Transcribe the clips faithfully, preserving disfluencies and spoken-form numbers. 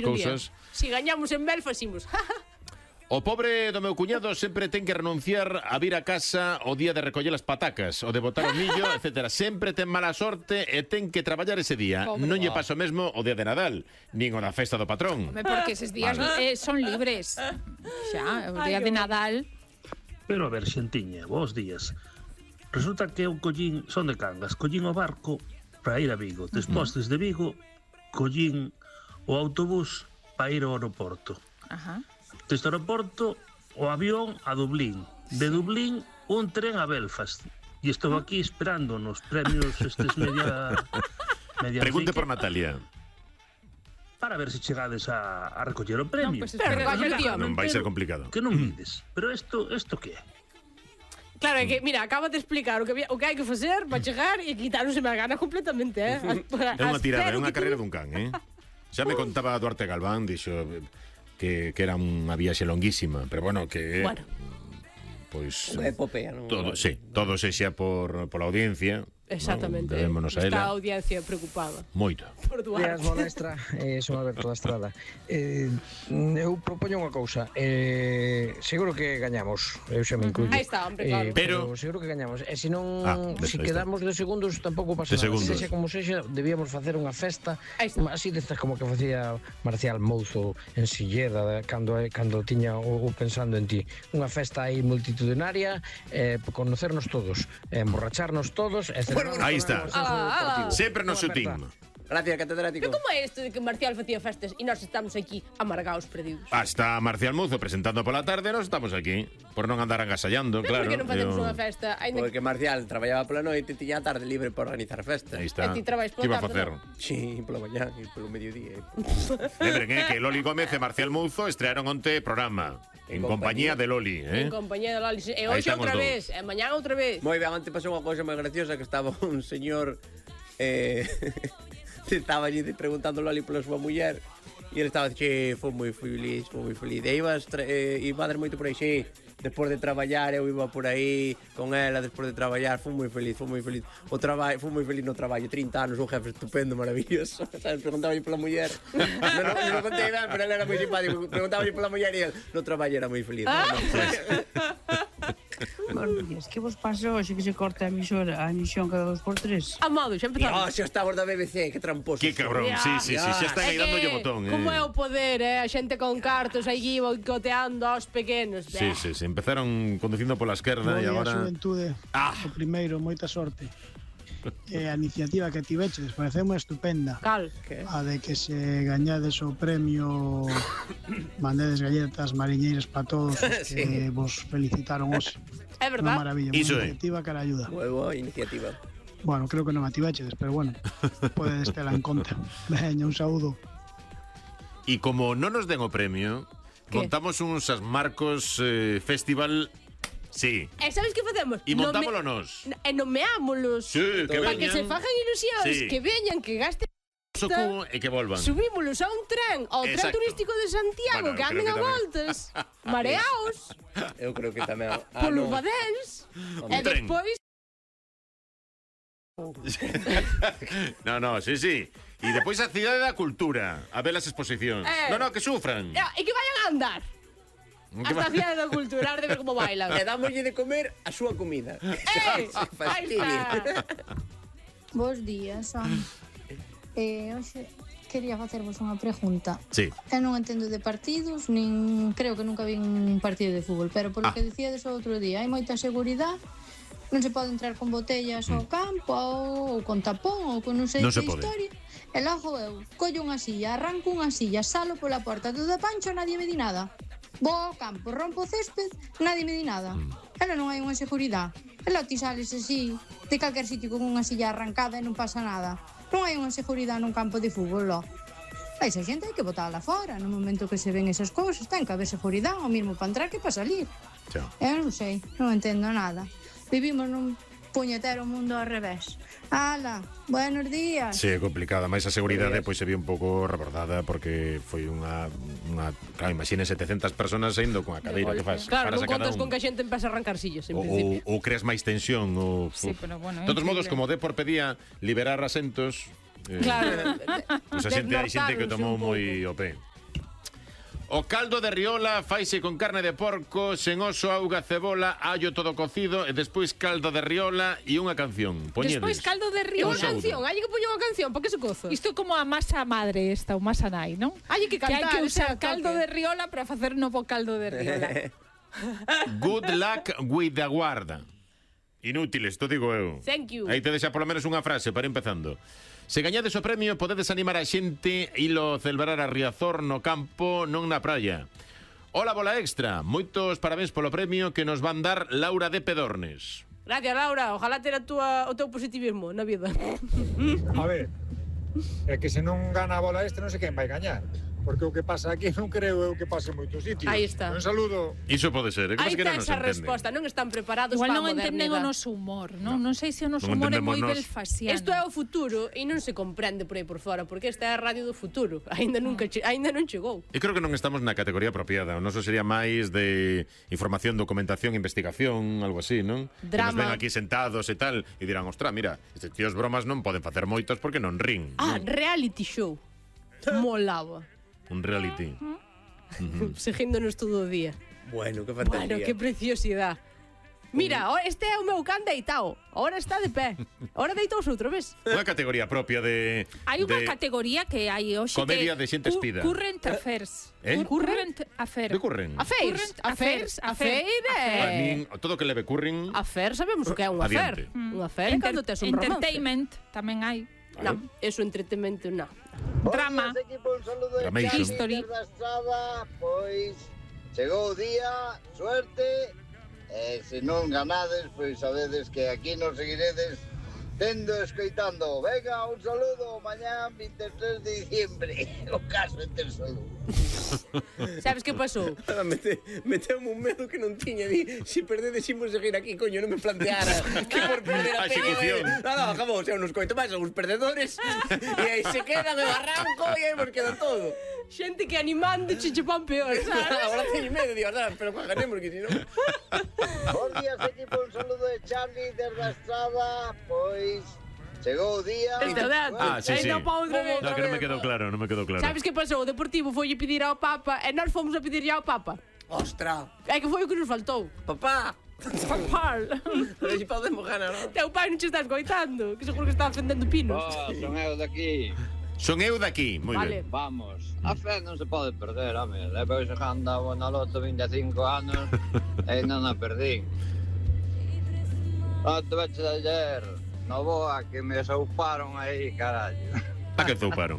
estas cousas. Si gañamos en Belfast, imos. O pobre do meu cuñado sempre ten que renunciar a vir a casa o día de recoller as patacas, o de botar o millo, etcétera. Sempre ten mala sorte e ten que traballar ese día. Pobre. Non lle paso mesmo o día de Nadal, nin o da festa do patrón. Home, porque eses días vale. eh, son libres. Xa, o día Ay, de Nadal. Pero a ver, xentiña, bons días. Resulta que eu collín, son de Cangas, collín o barco para ir a Vigo. Despois, desde Vigo, collín o autobús para ir ao aeroporto. Ajá. Deste aeroporto, o avión a Dublín. De Dublín, un tren a Belfast. E estou aquí esperando nos premios estes media... media Pregunte por Natalia. Para ver se chegades a, a recoller o premio. No, pues espera, no, non vai ser complicado. Que non vides. Pero isto, isto que é? Claro, é que, mira, acaba de explicar o que, o que hai que facer para chegar e quitarnos a gana completamente, eh? É unha tirada, é unha carreira dun can, eh? Xa me contaba Duarte Galván, dixo... Que, que era unha viaxe longuísima, pero bueno, que bueno. Pois unha epopea, non? Todo, sí, todo sexa por pola audiencia. Exactamente. No, Está a audiencia preocupada. Moito. Por Duarte. Días, Bonestra, eh, son Alberto da Estrada. Eh, eu propoño unha cousa. Eh, seguro que gañamos. Eu xa me incluyo. Aí está, hombre, claro. Eh, pero, pero seguro que gañamos. E se non, ah, se quedamos de segundos tampouco pasa nada. Segundos. Sexa como sexa, debíamos facer unha festa así destas como que facía Marcial Mouzo en Silleda cando cando tiña o, o pensando en ti. Unha festa aí multitudinaria, eh, conocernos todos, eh, emborracharnos todos, e aí está. Ah, ah, sempre no seu team. Gracias, catedrático. Pero como é isto de que Marcial facía festas e nós estamos aquí amargados, perdidos? Ah, está Marcial Muzo presentando pola tarde, nós estamos aquí por non andar agasallando, pero claro. Por que non facemos eu... unha festa? Porque Marcial traballaba pola noite e tiña a tarde libre para organizar a festa. Aí está. E ti traballas pola tarde, que iba a facer? No? Sí, pola mañá e polo mediodía. Lembren, eh, que Loli Gómez e Marcial Muzo estrearon onte programa. En, en compañía, compañía de Loli, eh? En compañía de Loli. E hoxe outra vez, e mañá outra vez. Moi ben, antes pasou unha cousa moi graciosa que estaba un señor eh estaba allí preguntando a Loli pola súa muller e ele estaba dicindo, foi moi feliz, foi moi feliz. E ibas eh, iba a dar moito por aí, sí. Despois de traballar, eu iba por aí con ela, despois de traballar, foi moi feliz, foi moi feliz. O traballo, foi moi feliz no traballo, trinta anos, un jefe estupendo, maravilloso. Sabes, preguntaba pola muller. Non, non, non contei ben, pero ela era moi simpático. Preguntaba pola muller e el, no traballo era moi feliz. Ah. No, Buenos días, que vos pasou hoxe que se corta a emisora, a emisión cada dos por tres? Amado, xa empezamos. Oh, xa estamos da B B C, que tramposo. Que cabrón, sí, sí, sí, xa están aí dando o botón, eh. Como é o poder, eh? A xente con cartos aí boicoteando aos pequenos. Sí, sí, sí, empezaron conducindo pola esquerda e agora... A xuventude, ah. o primeiro, moita sorte. E a iniciativa que tiveches pareceu estupenda. Cal? A de que se gañades o premio, mandedes galletas mariñeiras para todos os que sí. Vos felicitaron hoxe. É verdad. Unha maravilla, Iso unha iniciativa que la ayuda. Moi boa iniciativa. Bueno, creo que non a tiveches, pero bueno, podedes tela en conta. Veña, un saúdo. E como non nos den o premio, ¿qué? Montamos uns as Marcos eh, Festival. Sí. E sabes que facemos? E montámoslo nos. E nomeámolos. Sí, que veñan. Para que se fajan ilusións, sí. Que veñan, que gasten Socubo e que volvan. Subímolos a un tren, ao tren turístico de Santiago, bueno, que anden a voltas, mareaos. Eu creo que tamén. Ah, polo no. Badens. E despois... No, no, sí, sí. E depois a Cidade da Cultura, a ver as exposicións. Eh, no, no, que sufran. E que vayan a andar. Hasta a Cidade da Cultura, de ver como bailan. E dámoslle de comer a súa comida. Eh, Bos días, son. Eh, hoxe quería facervos unha pregunta. Sí. Eu non entendo de partidos, nin creo que nunca vi un partido de fútbol, pero polo ah. que dicíades o outro día, hai moita seguridade, non se pode entrar con botellas mm. ao campo ou con tapón ou con non sei non que historia. E logo eu collo unha silla, arranco unha silla, salo pola porta, todo de pancho, nadie me di nada. Vou ao campo, rompo o césped, nadie me di nada. Mm. Ela non hai unha seguridade. Ela ti sales así, de calquer sitio con unha silla arrancada e non pasa nada. Non hai unha seguridade nun campo de fútbol, lo. A esa xente hai que botala fora. No momento que se ven esas cousas, ten que haber seguridade, o mismo para entrar que para salir. Chao. Eu non sei, non entendo nada. Vivimos nun puñetero mundo ao revés. Ala, buenos días. Sí, é complicada, máis a seguridade pois se vio un pouco rebordada porque foi unha, unha claro, imagine setecentas personas saindo con a cadeira que faz. Claro, non contas con que a xente empeza a arrancar sillas, en o, principio. Ou creas máis tensión, ou sí, pero bueno, de todos modos, como Depor pedía liberar asentos, eh, claro, pues a xente, hai xente que tomou moi o pé. O caldo de riola faise con carne de porco, sen oso, auga, cebola, allo todo cocido e despois caldo de riola e unha canción. Poñedes. Despois caldo de E unha riola. canción, hai que poñer unha canción, para que se cozo? Isto é como a masa madre esta, o masa nai, non? Hai que Que hai cantar, que usar o sea, caldo toque. de riola para facer novo caldo de riola. Good luck with the guarda. Inútiles, to digo eu. Thank you. Aí tedes xa polo menos unha frase para ir empezando. Se gañades o premio, podedes animar a xente e ilo celebrar a Riazor no campo, non na praia. Ola, bola extra. Moitos parabéns polo premio que nos van dar Laura de Pedornes. Gracias, Laura. Ojalá ter a túa, o teu positivismo na vida. A ver, é que se non gana a bola extra non sei quen vai gañar. Porque o que pasa aquí non creo eu que pase en moitos sitios. Aí está. Un saludo. Iso pode ser, é que Aí pasa que non está nos esa entenden. resposta, non están preparados Igual para a non entenden o modernidade. noso humor, non? Non sei se o noso Non humor é entendemos moi nós. belfasiano. Isto é o futuro e non se comprende por aí por fora, porque esta é a radio do futuro. Aínda nunca che, aínda non chegou. Eu creo que non estamos na categoría apropiada. O noso sería máis de información, documentación, investigación, algo así, non? Que nos Drama. ven aquí sentados e tal e dirán, ostra, mira, estes tíos bromas non poden facer moitas porque non rin. Ah, reality show. Molaba. Un reality. Seguíndonos todo o día. Bueno, que fantasía. Bueno, que preciosidade. Mira, o- este é o meu can deitao. Ahora está de pé. Ahora deitouse outro, ves? Unha categoría propia de... Hai unha de... categoría que hai hoxe Comedia que de xente espida. Current affairs. Eh? Cur- Current affairs. De curren? Affairs. Affairs. Affairs. A min, todo que leve curren... Affair, sabemos o que é un affair. Adiante. Un affair é Enter- cando tes un romance. entertainment tamén hai. No, eso entretenimento non. Drama. Equipo, un saludo de Dramation. Xavi History. desde a Estrada. Pois chegou o día, suerte. E se non ganades, pois sabedes que aquí nos seguiredes tendo escoitando. Venga, un saludo, mañán vinte e tres de diciembre. O caso é ter saludo. Sabes que pasou? Ahora mete, meteume un medo que non tiña. Di, si perdedes imos seguir aquí, coño, non me planteara que por perder a A execución. peña. No, no, acabou, xa nos coito máis, son os perdedores. E aí se quedan en arranco e aí nos queda todo. Xente que animando che che pan peor, sabes? Agora teño medo, digo, "Ah, pero que ganemos, que si non..." Bos días, equipo, un saludo de Charlie desde a Estrada. Pois chegou o día. Esto de antes. Ah, sí, Aí sí. non pa outra vez. No, que non me quedou claro, non me quedou claro. Sabes que pasou? O Deportivo foi pedir ao Papa e nós fomos a pedirlle ao Papa. Ostra, É que foi o que nos faltou. papá. Papá. A ver si podemos ganar, non? Teu pai non che estás coitando, que seguro que está ofendendo pinos. Oh, son eu daqui. Son eu daqui, moi Vale. ben. Vamos, a fe non se pode perder, home. Levo xogando a na loto vinte e cinco anos e non a perdín. Non te veches ayer, no boa, que me souparon aí, carallo. A que zouparon?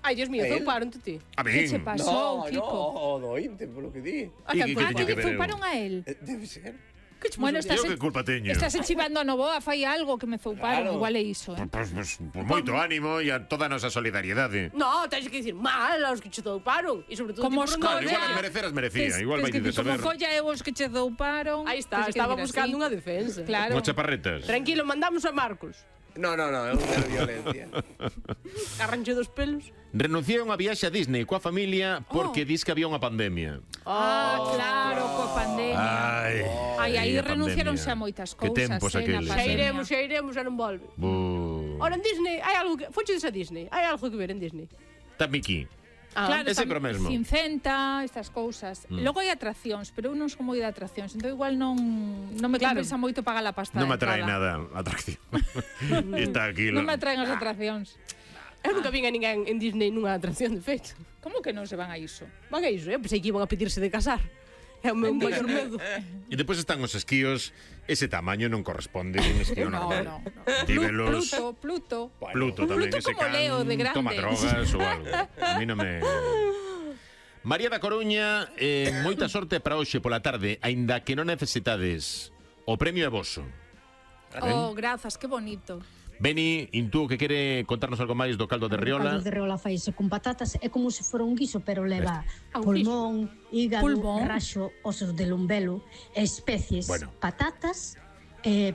Ai, Dios mío, ¿El? zouparon ti. A Que che min. pasou, No, Kiko? no, do Inte, polo que di. A E que que foi? Ah, tiña que que lle ver eu? zouparon a él. Eh, Debe ser. Que che Bueno, pasou? estás, Eu que culpa teño? estás chivando a Novoa, fai algo que me zouparon, Claro. igual é iso, eh. Pois, pois, pois moito ánimo e a toda a nosa solidariedade. No, tens que dicir mal aos que che zouparon. E sobre todo Como ti os por Claro, non igual ver. que mereceras merecía, Tes- igual tes vai que de dicir, saber. como folla eu os que che zouparon. Aí está, tes que estaba dir buscando así. unha defensa. Claro. Como chaparretas. Tranquilo, mandamos a Marcos. No, no, no, é un de violencia. Arranche dos pelos. Renunciei a unha viaxe a Disney coa familia porque dis que había unha pandemia. Ah, claro, coa pandemia. Ai, Ai, aí a renunciaronse pandemia. a moitas Que cousas, tempos eh, na aqueles. Xa pandemia. iremos, xa iremos, xa non volve. Bu. Ora, en Disney, hai algo que... Fochedes a Disney, hai algo que ver en Disney. Tamiki. Ah, Claro, É sempre o mesmo. Cincenta, estas cousas. Mm. Logo hai atraccións, pero eu non son moi de atraccións, entón igual non non me Claro. compensa moito pagar a pasta. Non me de atrae entrada. nada a atracción. Está aquí. Non me atraen as atraccións. Eu nunca vin a ninguén en Disney nunha atracción de feito. Como que non se van a iso? Van a iso, eu pensei que iban a pedirse de casar. É o meu maior medo. E depois están os esquíos, ese tamaño non corresponde a un esquío No, normal. no, no. Tívelos, Pluto, Pluto. Pluto tamén, Pluto ese como can Leo de grande. toma drogas ou algo. A mí non me... María da Coruña, eh, moita sorte para hoxe pola tarde, aínda que non necesitades. O premio é voso. Oh, grazas, que bonito. Beni, Intú, que quere contarnos algo máis do caldo de O riola. caldo de riola faise con patatas, é como se fora un guiso, pero leva Ah, un pulmón, hígado, Pulmón. raxo, osos de lumbelo, especies, Bueno. patatas, eh,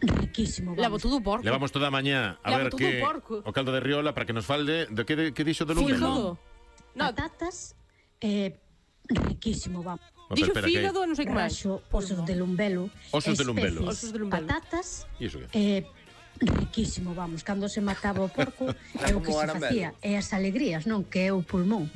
riquísimo, Levo vamos. todo o porco. Levamos toda a mañá a Levo ver todo que o porco. o caldo de riola para que nos falde de que, que dixo de Fígado. lumbelo. No, Patatas, eh, riquísimo, vamos. No, dixo pero espera, que- fígado, non sei que máis. Raxo, osos de lumbelo, Osos de lumbelo. especies, Osos de lumbelo. patatas, E iso que? eh, riquísimo, vamos. Cando se mataba o porco, é o que como se Arambelo. facía, e as alegrías, non? Que é o pulmón.